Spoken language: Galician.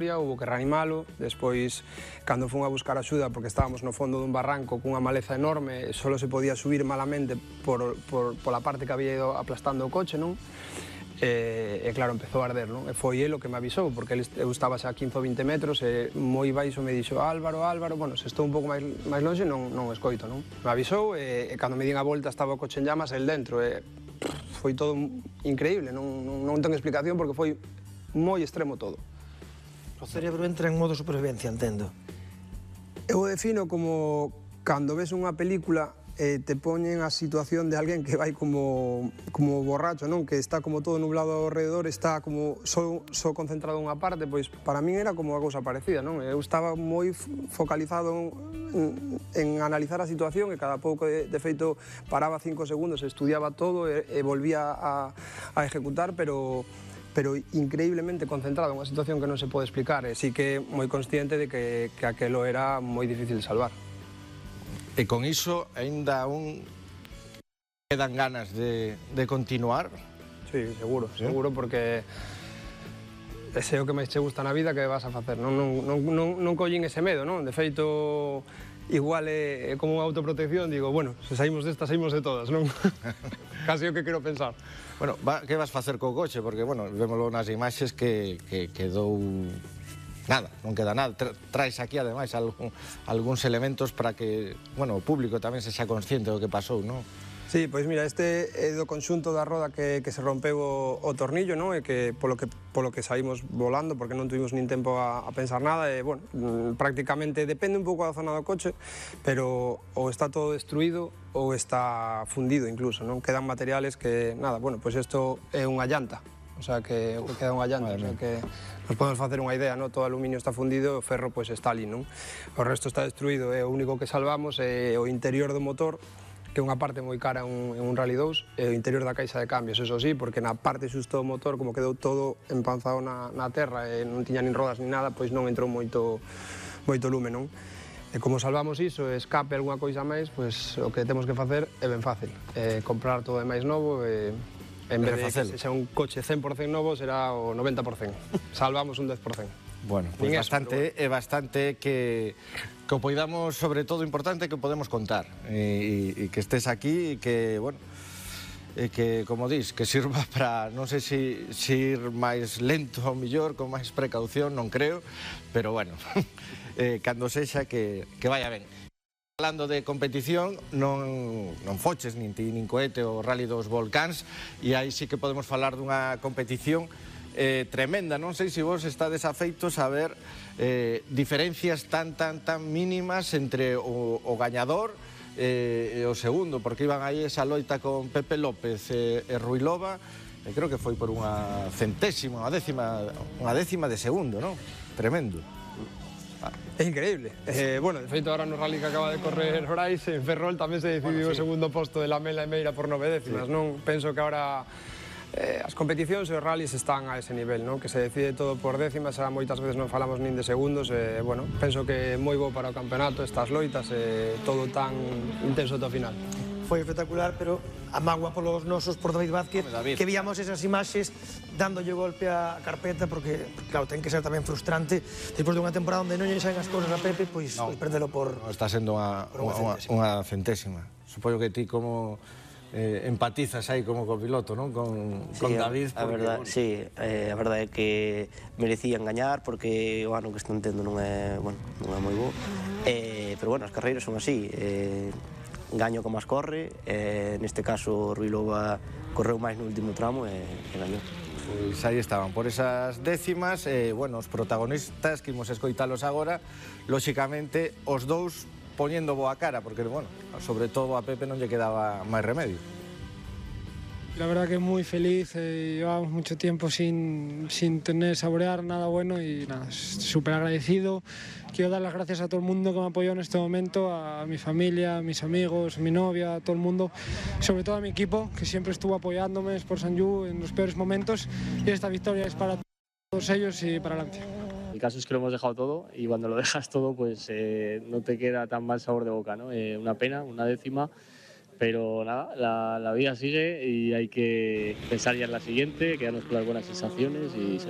Hubo que reanimalo, despois cando fun a buscar axuda porque estábamos no fondo dun barranco cunha maleza enorme, só se podía subir malamente pola parte que había ido aplastando o coche, non? E claro, empezou a arder, non? E foi el o que me avisou, porque eu estaba xa a 15 ou 20 metros e moi baixo me dixo Álvaro, bueno, se estou un pouco máis longe non escoito, non? Me avisou e cando me din a volta estaba o coche en llamas el dentro e foi todo increíble, non ten explicación porque foi moi extremo todo. O cerebro entra en modo supervivencia, entendo. Eu o defino como cando ves unha película e te poñen a situación de alguén que vai como borracho, non? Que está como todo nublado ao redor, está como só concentrado en unha parte, pois para min era como unha cousa parecida, non? Eu estaba moi focalizado en analizar a situación e cada pouco, de feito, paraba 5 segundos, estudiaba todo e volvía a ejecutar, pero increíblemente concentrado en unha situación que non se pode explicar e sí que moi consciente de que aquelo era moi difícil de salvar. E con iso ainda quedan ganas de continuar? Sí, seguro, porque ese é o que máis che gusta na vida que vas a facer, non collín ese medo, non? De feito, igual é como unha autoprotección, digo, bueno, se saímos destas, saímos de todas, non? Casi o que quero pensar. Bueno, que vas facer co coche? Porque, bueno, vémolo nas imaxes que quedou nada, non queda nada. Traes aquí, ademais, algúns elementos para que, bueno, o público tamén se xa consciente do que pasou, non? Sí, pois mira, este é do conxunto da roda que se rompeu o tornillo, non? E que polo que saímos volando, porque non tuvimos nin tempo a pensar nada, e, bueno, prácticamente depende un pouco da zona do coche, pero ou está todo destruído ou está fundido incluso, non? Quedan materiales que, nada, bueno, pois isto é unha llanta, o sea, que queda unha llanta, o sea, que nos podemos facer unha idea, non? Todo o aluminio está fundido e o ferro, pois, está ali, non? O resto está destruído e o único que salvamos é o interior do motor, que é unha parte moi cara en un Rally 2, e o interior da caixa de cambios, eso sí, porque na parte xusto do motor, como quedou todo empanzado na terra e non tiña nin rodas nin nada, pois non entrou moito lume, non? E como salvamos iso, escape algunha coisa máis, pois o que temos que facer é ben fácil, comprar todo de máis novo e en vez de que sexa un coche 100% novo, será o 90%. Salvamos un 10%. Bueno, pois é bastante que o poidamos, sobre todo, importante que o podemos contar e que estés aquí e que, bueno, que, como dis, que sirva para, non sei se ir máis lento ou mellor, con máis precaución, non creo, pero, bueno, cando sexa que vaya ben. Falando de competición, non foches nin ti nin cohete o Rally dos Volcáns, e aí sí que podemos falar dunha competición tremenda. Non sei se vos estades afeitos a ver diferencias tan mínimas entre o gañador e o segundo, porque iban aí esa loita con Pepe López e Ruilova, e creo que foi por unha centésima, unha décima de segundo, non? Tremendo. É increíble. Bueno, de feito, ahora no rally que acaba de correr Brais, en Ferrol tamén se decidiu o segundo posto de Lamela e Meira por 9 décimas, non? Penso que ahora as competicións e os rallies están a ese nivel, non? Que se decide todo por décimas, moitas veces non falamos nin de segundos, e, bueno, penso que é moi bo para o campeonato estas loitas e todo tan intenso ata o final. Foi espectacular, pero a mágoa polos nosos, por David Vázquez, que víamos esas imaxes dándolle golpe á carpeta, porque, claro, ten que ser tamén frustrante despois dunha temporada onde non lle saen as cousas a Pepe, pois perdelo por... Está sendo unha centésima. Supoño que ti como empatizas aí como copiloto, non? Con David. Sí, a verdade é que merecían gañar, porque o ano que están tendo non é moi bo, pero, bueno, as carreiras son así, gaño como as corre, neste caso Ruilova correu máis no último tramo e gañou. Pois aí estaban, por esas décimas, bueno, os protagonistas que imos escoitalos agora, lóxicamente, os dous poñendo boa cara, porque, bueno, sobre todo a Pepe non lle quedaba máis remedio. La verdad que muy feliz, llevamos mucho tiempo sin saborear nada bueno y nada, súper agradecido. Quiero dar las gracias a todo el mundo que me apoyó en este momento, a mi familia, a mis amigos, a mi novia, a todo el mundo, sobre todo a mi equipo, que siempre estuvo apoyándome, Sport Sanyu, en los peores momentos, y esta victoria es para todos ellos y para Lancia. El caso es que lo hemos dejado todo y cuando lo dejas todo pues no te queda tan mal sabor de boca, ¿no? Una pena, una décima. Pero nada, la vida sigue y hay que pensar ya en la siguiente, quedarnos con las buenas sensaciones y seguir.